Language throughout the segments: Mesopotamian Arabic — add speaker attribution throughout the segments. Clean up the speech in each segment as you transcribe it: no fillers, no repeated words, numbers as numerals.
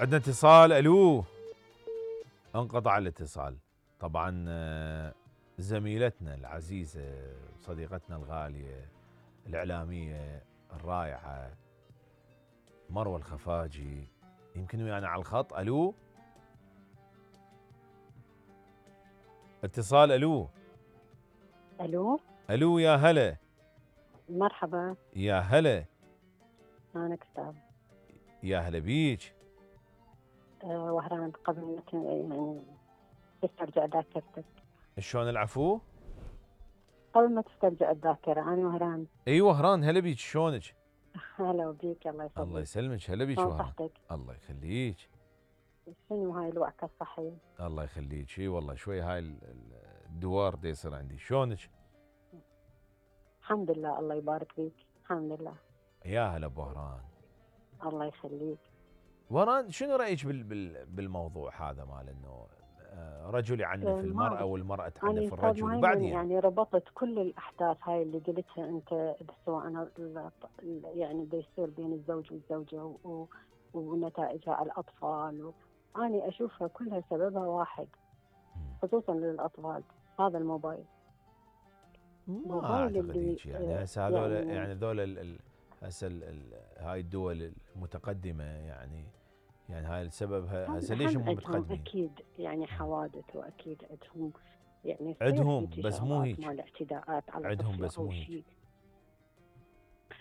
Speaker 1: عندنا اتصال. الو. انقطع الاتصال. طبعا زميلتنا العزيزة صديقتنا الغالية الإعلامية الرائعة مروة الخفاجي يمكن ويانا على الخط. الو. اتصال. الو.
Speaker 2: الو.
Speaker 1: الو يا هلا.
Speaker 2: مرحبا.
Speaker 1: يا هلا.
Speaker 2: انا كتاب.
Speaker 1: يا هلا بيك.
Speaker 2: وهران قبل ما يعني تسترجع ذاكرتك.
Speaker 1: شلون العفو؟
Speaker 2: قبل ما تسترجع الذاكرة انا وهران.
Speaker 1: ايوه وهران هلا بيك شلونك؟
Speaker 2: هلا بيك الله يسلمك.
Speaker 1: الله يسلمك. هلا بيك
Speaker 2: شلون
Speaker 1: وهران.
Speaker 2: صحتك؟
Speaker 1: الله يخليك.
Speaker 2: شنو هاي الوعكة الصحية؟
Speaker 1: الله يخليك. اي والله شوي هاي الدوار دي يصير عندي. شلونك؟
Speaker 2: الحمد لله الله يبارك فيك. الحمد لله.
Speaker 1: يا هلا بوهران.
Speaker 2: الله يخليك.
Speaker 1: وهران شنو رايك بالموضوع هذا مال انه رجل يعنف المراه والمراه تعنف الرجل وبعدين
Speaker 2: يعني ربطت كل الاحداث هاي اللي قلتها انت سواء يعني بيصير بين الزوج والزوجه ونتائجها على الاطفال أنا اشوفها كلها سببها واحد خصوصا للاطفال هذا الموبايل.
Speaker 1: ما اعتقد هيك يعني هسه هذول يعني ذول هسه هاي الدول المتقدمه يعني هاي السبب هسه ليش هم متقدمين؟
Speaker 2: اكيد يعني حوادث واكيد عندهم يعني
Speaker 1: عندهم بس مو هيك
Speaker 2: مال اعتداءات على
Speaker 1: عندهم بس مو هيك.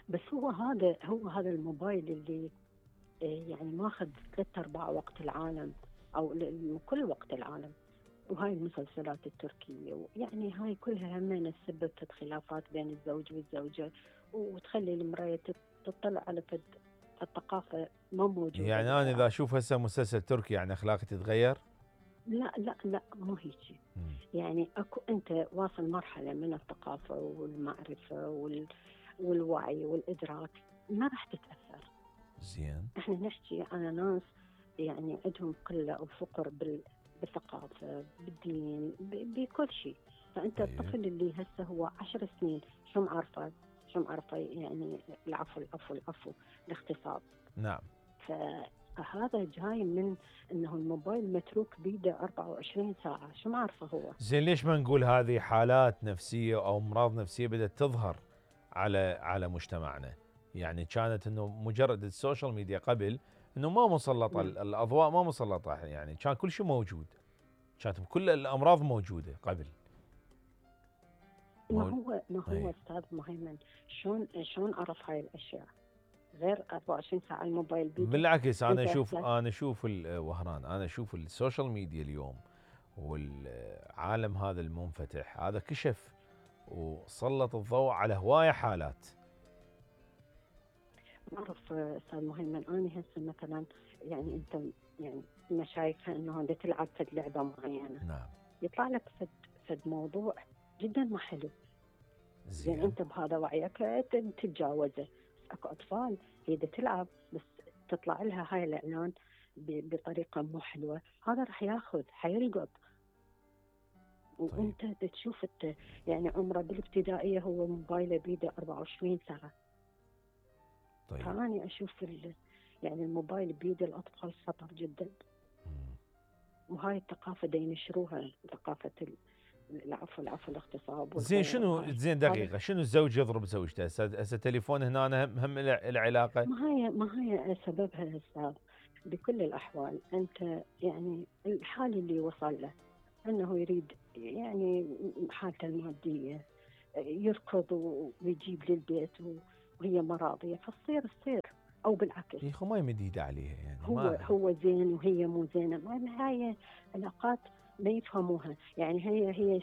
Speaker 2: بس هو هذا الموبايل اللي يعني ماخذ 3/4 وقت العالم او كل وقت العالم. وهاي المسلسلات التركية يعني هاي كلها همين سببت خلافات بين الزوج والزوجة وتخلي المرأة تطلع على الثقافة ما موجودة.
Speaker 1: يعني أنا إذا أشوف هسه مسلسل تركي يعني أخلاقي تتغير؟
Speaker 2: لا لا لا مو هيك. يعني أكو أنت واصل مرحلة من الثقافة والمعرفة والوعي والإدراك ما راح تتأثر.
Speaker 1: زين.
Speaker 2: احنا نحكي على ناس يعني عندهم قلة أو فقر بالثقافة بالدين بكل شيء. فأنت الطفل اللي هسه هو 10 سنين شو معرفة يعني العفو الاغتصاب.
Speaker 1: نعم.
Speaker 2: فهذا جاي من انه الموبايل متروك بيده 24 ساعة شو معرفه هو.
Speaker 1: زين ليش ما نقول هذه حالات نفسية او امراض نفسية بدأت تظهر على مجتمعنا؟ يعني كانت انه مجرد السوشيال ميديا قبل انه ما مسلطة الاضواء ما مسلطة يعني كان كل شيء موجود. كانت كل الامراض موجودة قبل.
Speaker 2: ما هو استاذ مهيمن شلون عرف هاي الاشياء غير 24 ساعة الموبايل بيده؟
Speaker 1: بالعكس انا اشوف وهران انا اشوف السوشيال ميديا اليوم والعالم هذا المنفتح هذا كشف وسلط الضوء على هواية حالات.
Speaker 2: أعرف أستاذ مهيمن أنا هسه مثلا يعني أنت يعني ما شايفها إنه أنت تلعب فد لعبة معينة.
Speaker 1: نعم.
Speaker 2: يطلع لك فد موضوع جدا ما حلو.
Speaker 1: زين.
Speaker 2: يعني أنت بهذا وعيك تتجاوزه. أكو أطفال هي تلعب بس تطلع لها هاي الإعلان بطريقة مو حلوة هذا راح ياخذ حيلقط. وأنت تشوف يعني عمره بالابتدائية هو موبايله بيده 24 ساعة.
Speaker 1: طيب.
Speaker 2: فأنا أشوف يعني الموبايل بيد الأطفال خطر جدا. وهاي الثقافة دا ينشروها ثقافة العفو الاغتصاب.
Speaker 1: زين شنو زين دقيقة شنو الزوج يضرب زوجته هسه تليفون هنا هم العلاقة؟
Speaker 2: ما هي سببها أستاذ بكل الأحوال. أنت يعني الحال اللي وصل له أنه يريد يعني حالته المادية يركض ويجيب للبيت وهي ما راضية فتصير او بالعكس.
Speaker 1: يا اخو ما يمد ايده عليها يعني
Speaker 2: هو زين وهي مو زينه. هاي علاقات ما يفهموها. يعني هي